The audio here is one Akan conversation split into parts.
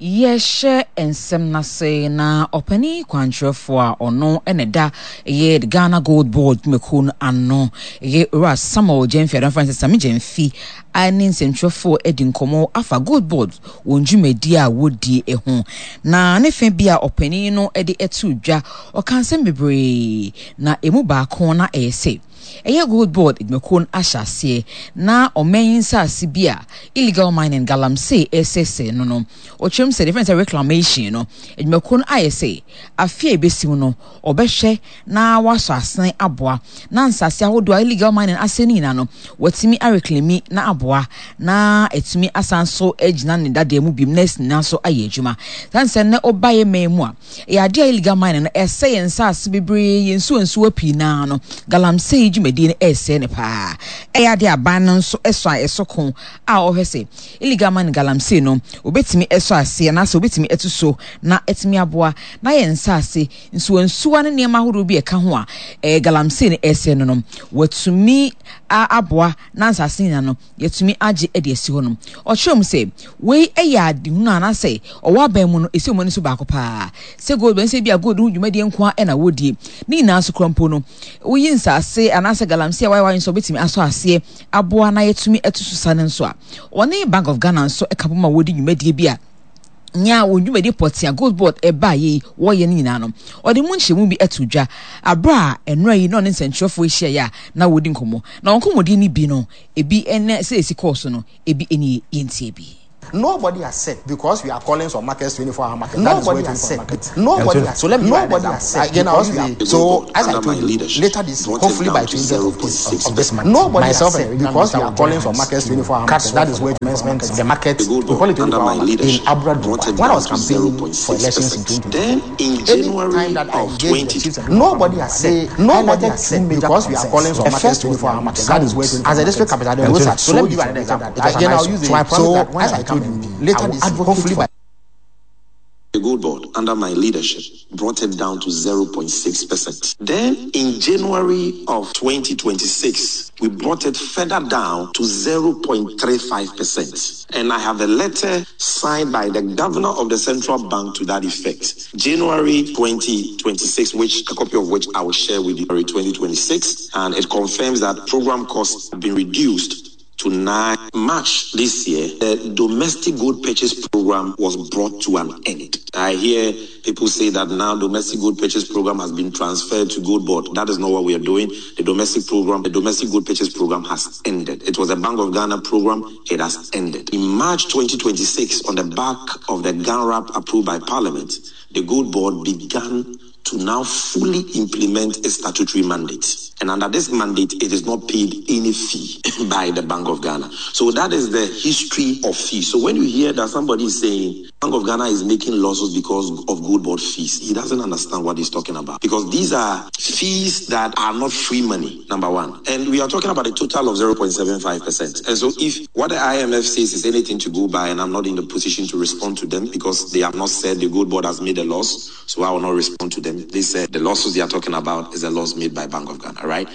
Yɛhyɛ nsɛm no ase na ɔpanin kwankyerɛfoɔ a ɔno na ɛda ɛyɛ the Ghana Gold Board dwumakuo no ano ɛyɛ Owura Samuel Gyamfi a dɔmfrɛ no sɛ Sammy Gyamfi ne nsɛmtwerɛfoɔ adi nkɔmmɔ afa Gold Board wɔn dwumadie a wɔdie ho. Na ne fɛ bi a ɔpanin no de to dwa, ɔka nsɛm bebree na ɛmu baako na ɛyɛ sɛ Ɛyɛ Gold Board adwumakuo no ahyɛ aseɛ na ɔman yi nsaase bi a illegal mining, galamsey, resɛesɛe no no, ɔkyerɛ mu sɛ deɛ yɛfrɛ no sɛ reclamation no, adwumakuo no ayɛ sɛ afe a ɛbɛsi mu no, wɔbɛhwɛ na wɔasɔ asene aboa na nsaase ahodoɔ a illegal mining asɛe no nyinaa no, wɔatumi areclaimi na aboa na atumi asan so agyina ne dadeɛ mu biom na asi ne nan so ayɛ adwuma. Sane sɛ nnɛ woba yɛ man mu a, Ɛyɛ adeɛ a illegal mining no ɛsɛe yɛn nsaase bebree, yɛn nsuo nsuwa pii no ara no, galamsey dwumadie no ɛresɛe no paa. Ɛyɛ adeɛ a aban no nso ɛsɔ a ɛsɔ ko a ɔhwɛ sɛ illegal mining galamsey no wɔbɛtumi ɛsɔ aseɛ anaasɛ wɔbɛtumi atu so na atumi aboa na yɛn nsaase, nsuo nsuwa ne nneɛma ahodoɔ bi a ɛka ho a ɛɛ galamsey no ɛresɛe no no wɔatumi aboa na nsaase nyinaa no yɛatumi agye de asi hɔ no. Ɔkyerɛɛ mu sɛ, Wei yɛ adehunu anaasɛ ɔwɔ aban mu no, ɛsi wɔn ani so baako paa. Sɛ gold bɛn sɛ ebia gold ho dwumadie nko ara na wɔdie. Ne nyinaa so koraa mpo no, woyi nsaase anaasɛ galamsey a wɔayɛ wɔn adwene sɛ wɔbɛtumi asɔ aseɛ aboa na yɛatumi atu so sa no nso a, wɔne Bank of Ghana nso ka bom a wɔdi dwumadie bi a nea wɔn dwumadi pɔtee a Gold Board baeɛ yi wɔyɛ no nyinaa no, ɔde mu nkyerɛmu bi ato dwa berɛ a nnora yi na ɔne nsɛntwerɛfoɔ hyiaeɛ a na wɔredi nkɔmmɔ. Na wɔn nkɔmmɔdie no bi no, ebi ne sɛ ɛsi kɔɔ so no, ebi nie, yɛntie bi. Nobody has said because we are calling some markets 24 hour market. Nobody has said. Nobody has. So let me nobody has said because we are. So as I told you, later this hopefully by 20th of this of this month. Nobody myself has said because we are calling some markets 24 hour market. That is where commencement the market we call it 24 hour market in Abra When I was campaigning for elections in 2020. Then in January that I of engaged the 20 chiefs and nobody has said nobody has said because we are calling some markets 24 hour market. That is where as a district capital. The roads are so let me give you an example. Again, I'll use it. So as I told you, later this hopefully by The Gold Board, under my leadership, brought it down to 0.6%. Then in January of 2026, we brought it further down to 0.35%. And I have a letter signed by the governor of the central bank to that effect. January 2026, which a copy of which I will share with you, 2026, and it confirms that program costs have been reduced to 9 March this year, the domestic gold purchase program was brought to an end. I hear people say that now domestic gold purchase program has been transferred to Gold Board. That is not what we are doing. The domestic program, the domestic gold purchase program has ended. It was a Bank of Ghana program. It has ended. In March 2026, on the back of the GANRAP approved by Parliament, the Gold Board began to now fully implement a statutory mandate. And under this mandate, it is not paid any fee by the Bank of Ghana. So that is the history of fees. So when you hear that somebody is saying Bank of Ghana is making losses because of gold board fees, he doesn't understand what he's talking about. Because these are fees that are not free money, number one. And we are talking about a total of 0.75%. And so if what the IMF says is anything to go by, and I'm not in the position to respond to them because they have not said the gold board has made a loss, so I will not respond to them. They said the losses they are talking about is a loss made by Bank of Ghana, right?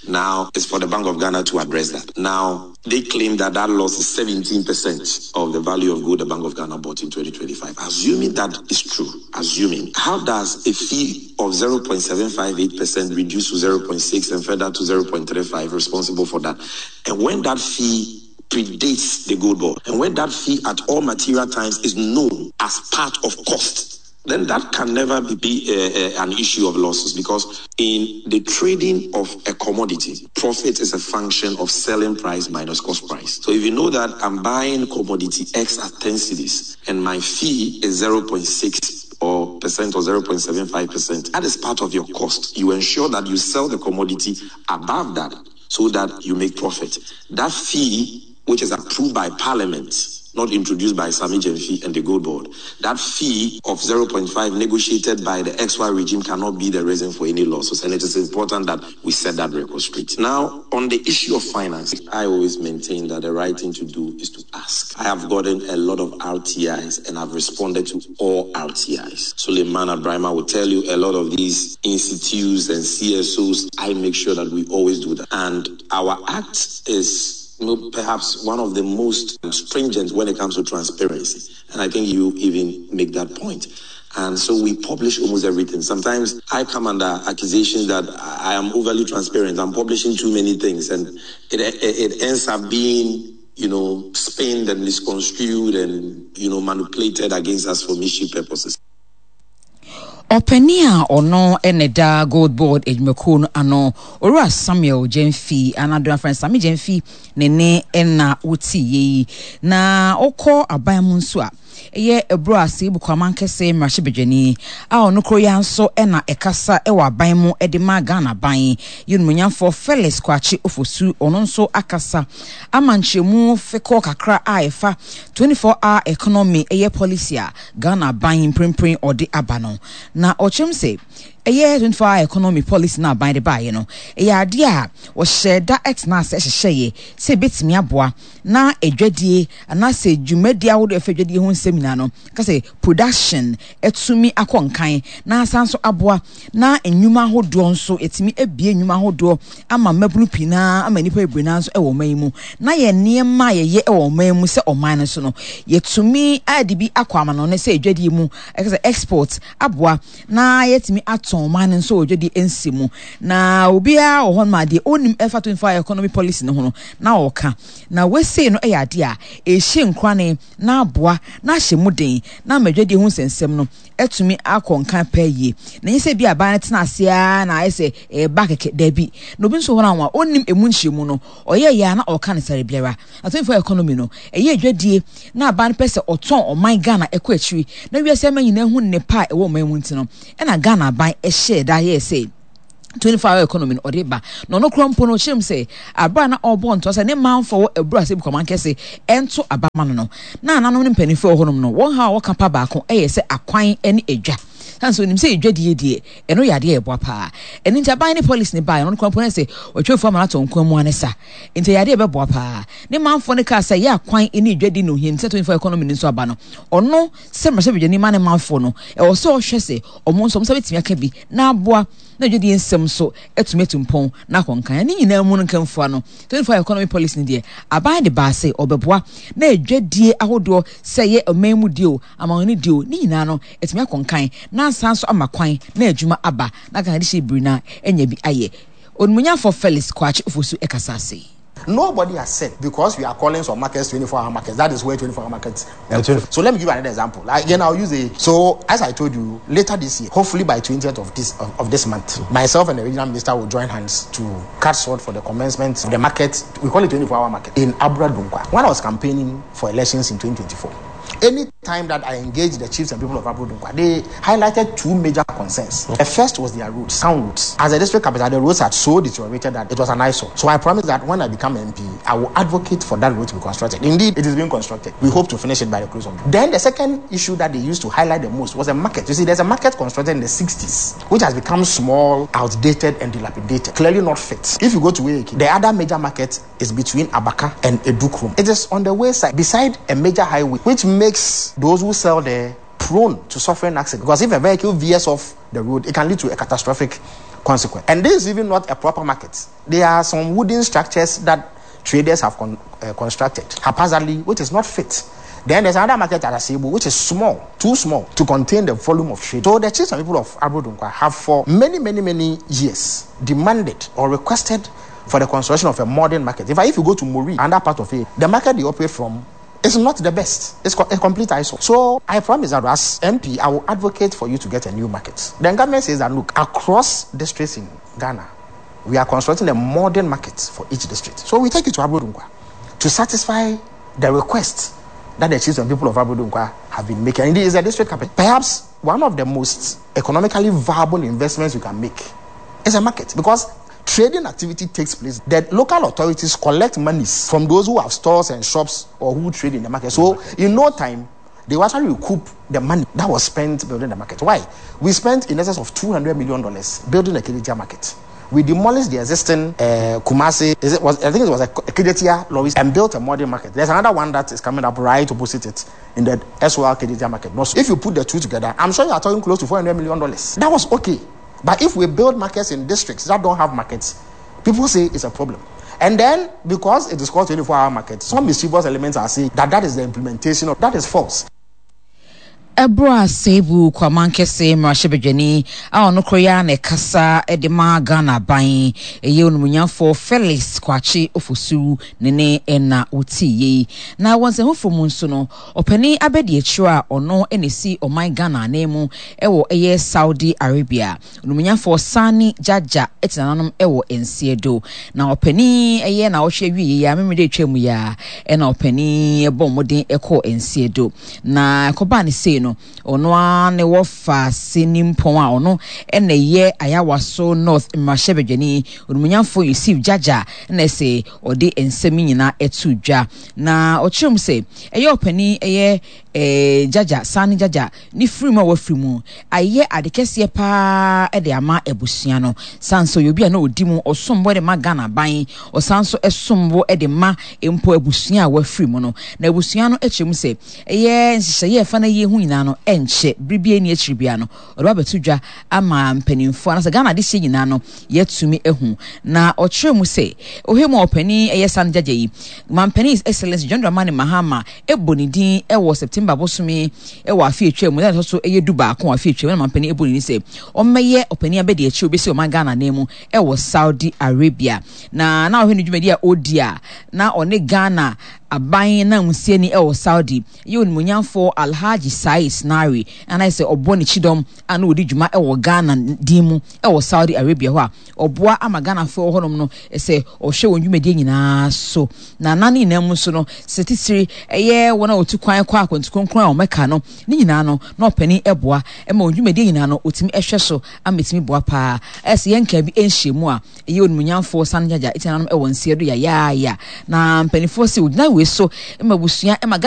Now, it's for the Bank of Ghana to address that. Now, they claim that that loss is 17% of the value of gold the Bank of Ghana bought in 2025. Assuming that is true, assuming, how does a fee of 0.758% reduce to 0.6 and further to 0.35 responsible for that? And when that fee predates the gold board, and when that fee at all material times is known as part of cost, then that can never be, be uh, uh, an issue of losses because in the trading of a commodity, profit is a function of selling price minus cost price. So if you know that I'm buying commodity X at 10 cedis and my fee is 0.6 or percent or 0.75 percent, that is part of your cost. You ensure that you sell the commodity above that so that you make profit. That fee, which is approved by parliament, not introduced by Sammy Gyamfi and the Gold Board. That fee of 0.5 negotiated by the XY regime cannot be the reason for any losses. And it is important that we set that record straight. Now, on the issue of finance, I always maintain that the right thing to do is to ask. I have gotten a lot of RTIs and I've responded to all RTIs. Suleiman Abraima will tell you a lot of these institutes and CSOs, I make sure that we always do that. And our act is is you know, perhaps one of the most stringent when it comes to transparency. And I think you even make that point. And so we publish almost everything. Sometimes I come under accusations that I am overly transparent. I'm publishing too many things. And it, it, it ends up being, you know, spinned and misconstrued and, you know, manipulated against us for mischief purposes. Ɔpanin a ɔno na ɛda Gold Board adwumakuo no ano, Owura Samuel Gyamfi, anaa do afrɛ no Sammy Gyamfi, ne ne na woteeɛ yi. Na wokɔ aban mu nso a, ɛyɛ ɛberɛ a Seibu Kwaman Kɛse mmarahyɛbadwani a ɔno koro yi ara nso na ɛkasa wɔ aban mu de ma Ghana aban, yɛ Onimuonyamfoɔ Felix Kwakye Ofosu, ɔno nso akasa ama nkyerɛmu fekɔɔ kakra a ɛfa 24 hour economy ɛyɛ policy a Ghana aban mprempren ɔde aba no. Na ɔkyerɛ mu sɛ, ɛyɛ 24 hour economy policy no a aban de baeɛ no, ɛyɛ adeɛ a wɔhyɛɛ da tenaa ase hyehyɛeɛ sɛ ɛbɛtumi aboa na adwadie anaasɛ dwumadie ahodoɔ a ɛfa adwadie ho nsɛm nyinaa no, ka sɛ production atumi akɔ nkan na asan nso aboa na nnwuma ahodoɔ nso yɛtumi abue nnwuma ahodoɔ ama mmabunu pii no ara ama nnipa bebree no ara nso wɔ ɔman yi mu na yɛn nneɛma a yɛyɛ wɔ ɔman mu sɛ ɔman no nso no yɛtumi ade bi akɔ amanɔne sɛ adwadie mu ɛka sɛ export aboa na yɛtumi atɔn ɔman no nso wɔ adwadie nsi mu na obiara wɔ hɔ no ma deɛ ɔnim ɛfa 24 hour economy policy no ho no na ɔka na wesei no yɛ adeɛ a ɛhyɛ nkurane na aboa na ahyɛ mu den na ama adwadie ho nsɛnsɛm no atumi akɔ nkan paa yie. Na ɛnyɛ sɛ ebia aban no tena ase ara na ayɛ sɛ ɛreba kɛkɛ, dabi. Na obi nso wɔ hɔ a ɔnnim emu nkyerɛmu no, ɔyɛeɛ ara na ɔreka no sare biara. Na 24 economy no, ɛyɛ adwadie na aban no pɛ sɛ ɔtɔn ɔman Ghana kɔ akyiri na wiase aman nyinaa hu nnepa a ɛwɔ ɔman mu nti no, ɛna Ghana aban hyɛɛ da yɛɛ sɛ 24 hour economy no ɔde ba. Na ɔno koraa mpo no, ɔkyerɛ mu sɛ abere a na ɔrebɔ ntoa sɛ ne manfoɔ wɔ abura sɛ Bukaman kɛse ɛnto aba ma no no, na nananom ne mpanimfoɔ wɔ hɔnom no, wɔn haw a wɔka pa baako yɛ sɛ akwan ne adwa. Sane sɛ onim sɛ adwadie deɛ, ɛno yɛ adeɛ a ɛboa paa. Ɛno nti aban ne policy no baeɛ no, ɔno koraa mpo na sɛ wɔatwa afuo ama no atɔ nkwan mu ara ne sa. Nti ɛyɛ adeɛ a ɛbɛboa paa. Ne manfoɔ no kaa sɛ ɛyɛ akwan ne adwadie na ohia nti sɛ 24 hour economy no nso aba no, ɔno sɛ mmarahyɛbadwani ma ne manfoɔ no, ɛwɔ sɛ ɔhwɛ sɛ wɔn nso wɔn nsa bɛtumi aka bi na aboa na dwadie nsɛm nso atumi atu mpɔn na akɔ nkan. Ne nyinaa mu no nkamfua no, 24 hour economy policy no deɛ, aban de baa sɛ ɔbɛboa na adwadie ahodoɔ sɛ ɛyɛ ɔman mu deɛ o, amanɔne deɛ o, ne nyinaa no atumi akɔ nkan na asan nso ama kwan na adwuma aba na Ghana de hyɛ biri na anya bi ayɛ. Onimuonyamfoɔ Felix Kwakye Ofosu kasa ase. Nobody has said because we are calling some markets 24 hour markets. That is where 24 hour markets. So let me give you another example. Again, I'll use a. So as I told you, later this year, hopefully by 20th of this of, of this month, myself and the regional minister will join hands to cut short for the commencement of the market. We call it 24 hour market in Abra Dunkwa. When I was campaigning for elections in 2024, any time that I engaged the chiefs and people of Abra Dunkwa, they highlighted two major concerns. The first was their roads, sound roads. As a district capital, the roads had so deteriorated that it was an eyesore. So I promised that when I become MP, I will advocate for that road to be constructed. Indeed, it is being constructed. We hope to finish it by the close of the Then the second issue that they used to highlight the most was a market. You see, there's a market constructed in the 60s, which has become small, outdated, and dilapidated, clearly not fit. If you go to Wake, the other major market is between Abaka and Edukrum. It is on the wayside, beside a major highway, which makes those who sell there prone to suffering accidents. Because if a vehicle veers off the road, it can lead to a catastrophic consequence. And this is even not a proper market. There are some wooden structures that traders have con constructed haphazardly, which is not fit. Then there's another market at Asebu, which is small, too small to contain the volume of trade. So the chiefs and people of Abrodunkwa have for many, many, many years demanded or requested for the construction of a modern market. In fact, if you go to Muri, another part of it, the market they operate from is not the best. It's a complete eyesore. So I promise that as MP, I will advocate for you to get a new market. The government says that, look, across districts in Ghana, we are constructing a modern market for each district. So we take it to Abrodunkwa to satisfy the request that the chiefs and people of Abrodunkwa have been making. And it is a district capital. Perhaps one of the most economically viable investments you can make is a market, because trading activity takes place. The local authorities collect monies from those who have stores and shops or who trade in the market. So in no time, they will actually recoup the money that was spent building the market. Why? We spent in excess of $200 million building a Kejetia market. We demolished the existing Kumasi, is it was, I think it was a Kejetia lorry, and built a modern market. There's another one that is coming up right opposite it in the SOL Kejetia market. So if you put the two together, I'm sure you are talking close to $400 million. That was okay. But if we build markets in districts that don't have markets, people say it's a problem. And then, because it is called 24-hour market, some mischievous elements are saying that that is the implementation of that is false. Ɛberɛ a Seibu Kwamankese mmarahyɛbadwani a ɔno koro yi ara na ɛkasa de ma Ghana aban, ɛyɛ Onimonyamfoɔ Felix Kwakye Ofosu ne ne na wotii yei. Na wɔ nsɛm foforɔ mu nso no, ɔpanin abadiakyire a ɔno na ɛsi ɔman Ghana ananmu wɔ ɛyɛ Saudi Arabia, Onimonyamfoɔ Sani Jaja te nananom wɔ nseɛ do. Na ɔpanin ɛyɛ naawɔtwe awieɛ yi ara, Memeneda a ɛtwa mu yi ara, ɛna ɔpanin bɔɔ mmɔden kɔɔ nseɛ do. Na ɛkɔbaa no sei no, ɔno ara ne wɔfa Senimpɔn a ɔno na ɛyɛ Ayawaso North mmarahyɛbadwani, Onimonyamfoɔ Yusuf Jaja na ɛsɛ ɔde nsɛm yi nyinaa too dwa. Na ɔkyerɛ mu sɛ, ɛyɛ ɔpanin ɛyɛ eh, Jaja, Sani Jaja, ne firi mu a wafiri mu ayɛ ade kɛseɛ paa de ama abusua no. San sɛ ɔyɛ obi a na ɔdi mu, ɔsom bo de ma Ghana aban, ɔsan nso som bo de ma mpo abusua a wafiri mu no. Na abusua no kyerɛ mu sɛ ɛyɛ nhyehyɛeɛ a ɛfa n'ayie ho nyinaa no ɛnkyɛ, bere biara nni akyiri biara no ɔde ba abɛto dwa ama mpanimfoɔ anaasɛ Ghana adehyeɛ nyinaa no yɛatumi ahu. Na ɔkyerɛ mu sɛ ɔhwɛ mu a ɔpanin ɛyɛ Sani Gyagya yi, Mampanin His Excellency John Dramani Mahama bɔ ne din wɔ September bosome wɔ afe a etwaa mu, da a ɛtɔ so yɛ dubaako wɔ afe a etwaa mu na mampanin bɔ ne din sɛ ɔmmɛyɛ ɔpanin abadiakyiri a obesi ɔman Ghana ananmu wɔ Saudi Arabia. Na na ɔhwɛ ne dwumadi a ɔredi a na ɔne Ghana aban nanmusiani wɔ Saudi yɛ onimuonyamfoɔ Alhaji Said Snari a na ayɛ sɛ ɔbɔ ne kyidɔm a na ɔdi dwuma wɔ Ghana din mu wɔ Saudi Arabia hɔ a ɔboa ama Ghanafoɔ wɔ hɔnom no sɛ ɔhwɛ wɔn dwumadie nyinaa so. Na na ne nyinaa mu nso no, sɛ titire ɛyɛ wɔn a wɔtu kwan kɔ akwantu kronkron a wɔmɛka no, ne nyinaa no, na ɔpanin boa ma wɔn dwumadie nyinaa no, wɔtumi hwɛ so ama ɛtumi boa paa. Ɛyɛ sɛ yɛnkaa bi nhyiamu a ɛyɛ onimuonyamfoɔ Sani Jaja ɛti nananom wɔ nseɛ do yayaaya. Na mpanimfoɔ se wɔgyina wei so ma abusua ma.